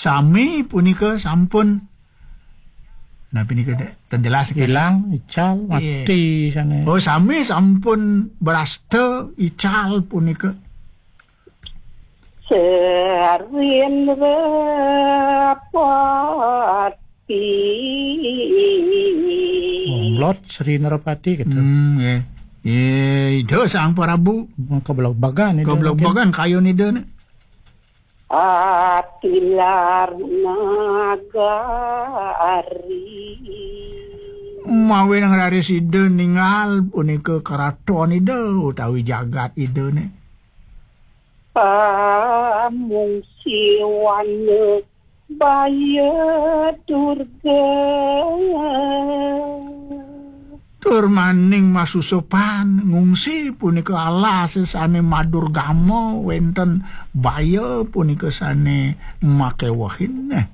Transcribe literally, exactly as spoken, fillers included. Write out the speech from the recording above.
Sami punika sampun, napi nika, Dék? Ten jelas, kan? Ilang, ical, Iya. Mati sané. Oh, sami sampun brasta, ical punika. Srindra Pati. Omlot Sri Narapati gitu. Hmm, nggih. Nggih, Ida Sang Prabu. Keblebagan Ida. Keblebagan kayun Ida né. Atilar Nagari. Mawinan raris Ida ningal punika keraton Ida utawi jagat Ida né. Pamungsiwana Baya Durga. Tur maning masusupan ngungsi punika alas sané madurgama wénten baya punika sané makéwehin. Nah,